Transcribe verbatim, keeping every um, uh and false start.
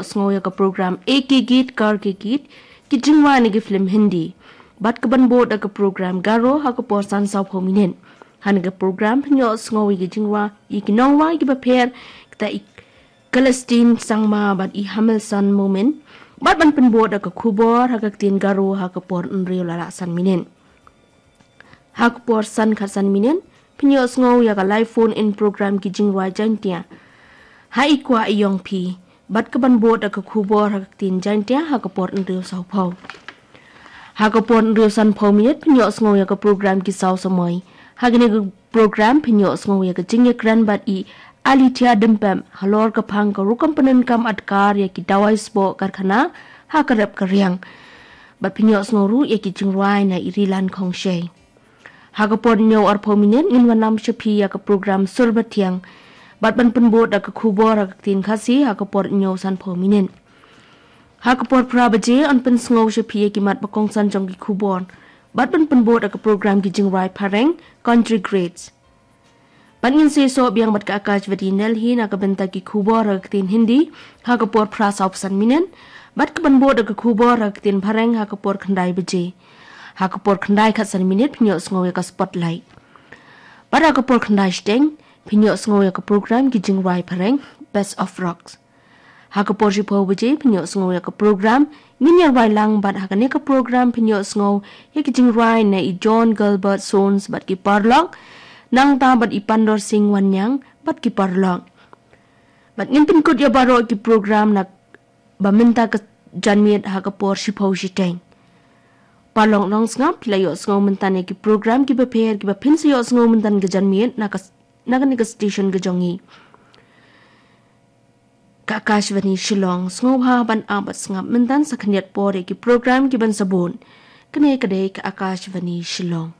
Sngew ïa ka program Ek Hi Geet Kar Ke Geet, ki jingrwai na ki film Hindi. Bad ka ban bud da ka program Garo ha ka por san saw phew minit. Ha kane ka program phin ïoh sngew ïa ki jingrwai, ïa ki nongrwai kiba pher, kata i Celestine Sangma bad i Hamilson Momin. Bad ban pynbud da ka khubor ha ka ktien Garo ha ka por hynriew la lah san minit. Ha ka por san khatsan minit, phin ïoh sngew ïa ka live phone in program ki jingrwai Jaintia. Ha i kwah i ïong phi, bad ka ban bud da ka khubor ha ka ktien Jaintia ha ka por hynriew saw phew. Ha ka por hynriew san phew minit, phin ïoh sngew ïa ka program Ki Saw Samoi. Ha kane ka program phin ïoh sngew ïa ka jingïakren bad i Alitia Dimpem halor ka phang ka rukom pyndonkam adkar ïa ki dawai sboh karkhana ha ka rep ka riang. Bad phin ïoh sngew ruh ïa ki jingrwai na i Rilan Khongshei. Ha ka por hynñiew ar phew minit ngin wanlam sha phi ïa ka program Sur Bathiang. Bad ban pynbud da ka khubor ha ka ktien Khasi ha ka por hynñiew san phew minit. Ha ka por phra baje yn pynsngew sha phi ïa ki mat ba kongsan jong ki khubor. Bad ban pynbud da ka program Ki Jingrwai Phareng, Country Greats. Bad ngin sa ïasoh biang bad ka Akashvani Delhi na ka bynta ki khubor ha ka ktien Hindi ha ka por phra saw phew san minit. Bad ka ban bud da ka khubor ha ka ktien Phareng ha ka por khyndai baje. Ha ka por khyndai khatsan minit phin ïoh sngew ïa ka Spotlight. Bad ha ka por khyndai shiteng phin ïoh sngew ïa ka program Ki Jingrwai Phareng, Best of Rocks. Ha ka por shiphew baje phin ïoh sngew ïa ka program Ngin Ïarwai Lang, bad ha kane ka program phin ïoh sngew ïa ki jingrwai na i John Gilbert Sones bad ki paralok, nangta bad i Pandor Singh Wanniang bad ki paralok. Bad ngin pynkut ïa baroh ki program na ba mynta ka janmiet ha ka por shiphew shiteng. Paralok nongsngap, phi la ïoh sngew mynta ïa ki program kiba pher kiba phin sa ïoh sngew mynta ka janmiet na ka, na kane ka station ka jong ngi, ka Akashvani Shillong. Sngewbha ban ap bad sngap mynta sa khyndiat por ïa ki program ki ban sa bud. Kane ka dei ka Akashvani Shillong.